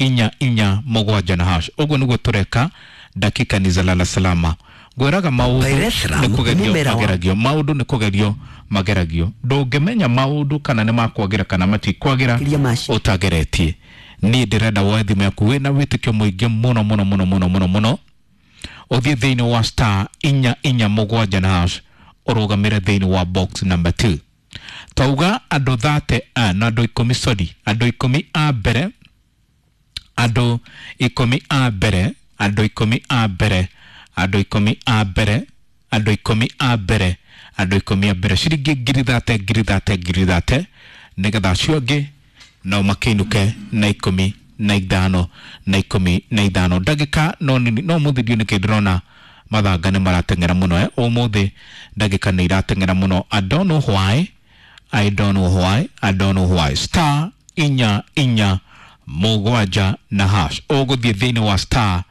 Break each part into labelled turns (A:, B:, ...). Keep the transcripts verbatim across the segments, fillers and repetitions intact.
A: inya inya mũgwanja na hash. Ũguo nĩguo tũreka dakika ni za lala salama. Ngwĩraga maũndũ
B: Pyrethrum
A: nĩ kũgerio
B: mũmera wa
A: mageragio, maũndũ nĩ kũgerio mageragio. Ndũngĩmenya maũndũ kana nĩ makwagĩra kana matikwagĩra
B: Makĩria ma ci-
A: ũtageretie. Niĩ ndĩrenda woe thimũ yaku wĩna wĩtĩkio mũingĩ mũno mũno mũno mũno mũno mũno, ũthiĩ thĩinĩ wa star inya inya mũgwanja na hash, ũrũgamĩre thĩinĩ wa box number two. Twauga andũ thate a na andũ ikũmi, sorry, andũ ikũmi a mbere, andũ ikũmi a mbere, andũ ikũmi a mbere, andũ ikũmi a mbere, andũ ikũmi a mbere, andũ ikũmi a mbere, ciringi ngiri thate, ngiri thate, ngiri thate, nĩgetha acio angĩ nao makĩinũke na ikũmi na ithano na ikũmi na ithano. Ndagĩka no nini, no mũthĩ ndiũ nĩkĩ ndĩrona mathanga nĩ marateng'era mũno eh? Ũmũthĩ ndagĩka nĩ irateng'era mũno. I don't know why, I don't know why, I don't know why. Star inya inya mũgwanja na hash. Ũgũthiĩ thĩinĩ wa star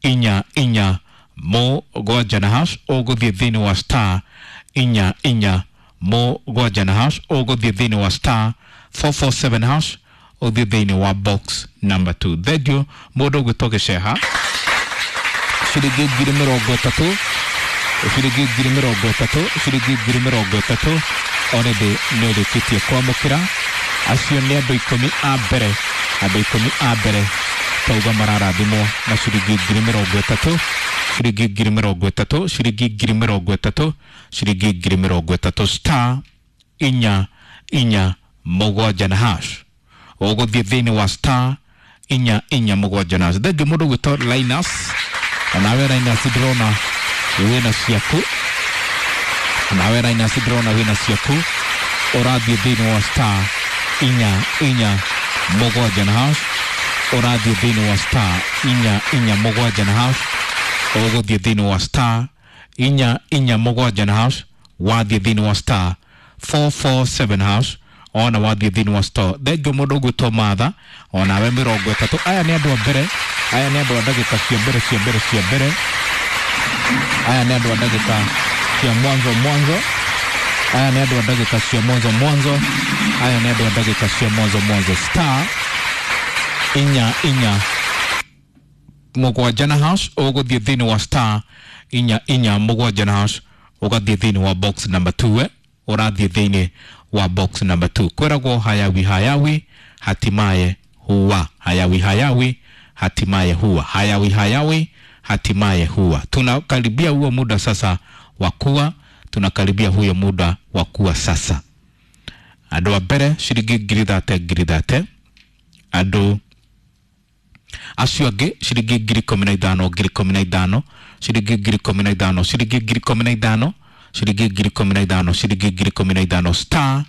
A: inya inya mũgwanja na hash. Ũgũthiĩ thĩinĩ wa star inya inya mũgwanja na hash. Ũgũthiĩ thĩinĩ wa star four four seven hash. Ũthiĩ thĩinĩ wa box number two. Thengiũ mũndũ ũgwĩtwo Gĩceha, ciringi ngiri mĩrongo ĩtatũ, ciringi ngiri mĩrongo ĩtatũ, ciringi ngiri mĩrongo ĩtatũ already nĩ ũrĩkĩtie kwamũkĩra. Acio nĩ andũ ikũmi a mbere, andũ ikũmi a mbere tauga mararathimwo na ciringi ngiri mĩrongo ĩtatũ, ciringi ngiri mĩrongo ĩtatũ, ciringi ngiri mĩrongo ĩtatũ, ciringi ngiri mĩrongo ĩtatũ. Star inya inya mũgwanja na hash. Ũgũthiĩ thĩinĩ wa star inya inya mũgwanja na hash. Thengiũ mũndũ ũgwĩtwo Linus, onawe Linus ndĩrona wĩna ciaku, onawe Linus ndĩrona wĩna ciaku. Ũrathiĩ thĩinĩ wa star inya inya mũgwanja na hash. Ũrathiĩ thĩinĩ wa star inya inya mũgwanja na hash. Ũgũthiĩ thĩinĩ wa star inya inya mũgwanja na hash. Wathiĩ thĩinĩ wa star four four seven hash, ona wathiĩ thĩinĩ wa star. Thengiũ mũndũ ũgwĩtwo Martha, onawe mĩrongo ĩtatũ. Aya nĩ andũ a mbere, aya nĩ andũ a ndagĩka cia mbere cia mbere cia mbere, aya nĩ andũ a ndagĩka cia mwanzo mwanzo, aya nĩ andũ a ndagĩka cia mwanzo mwanzo, aya nĩ andũ a ndagĩka cia mwanzo mwanzo. Star inya inya mũgwanja na hash. Ũgũthiĩ thĩinĩ wa star inya inya mũgwanja na hash, ũgathiĩ thĩinĩ wa box number two eh? Ũrathiĩ thĩinĩ wa box number two. Kwĩragwo hayawi hayawi hatimaye huwa, hayawi hayawi hatimaye huwa, hayawi hayawi hatimaye huwa. Tunakaribia huo muda sasa wa kuwa, tunakaribia huyo muda wa kuwa sasa. Andũ a mbere ciringi ngiri thate, ngiri thate, andũ acio angĩ ciringi ngiri ikũmi na ithano, ngiri ikũmi na ithano, ciringi ngiri ikũmi na ithano, ciringi ngiri ikũmi na ithano, ciringi ngiri ikũmi na ithano, ciringi ngiri ikũmi na ithano. Star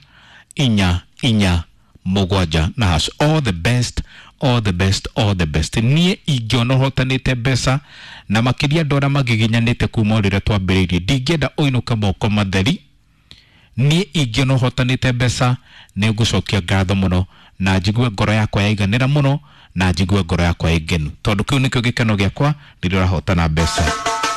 A: inya inya mũgwanja na hash. All the best, all the best, all the best. Niĩ ingĩona ũhotanĩte mbeca na makĩria andũ arĩa magiginyanĩte kuma o rĩrĩa twambĩrĩirie, ndingĩenda ũinũke moko matheri. Niĩ ingĩona ũhotanĩte mbeca nĩ ngũcokia ngatho mũno na njigue ngoro yakwa yaiganĩra mũno na njigue ngoro yakwa ĩ ngenu, tondũ kĩu nĩkĩo gĩkeno gĩakwa rĩrĩa ũrahotana mbeca.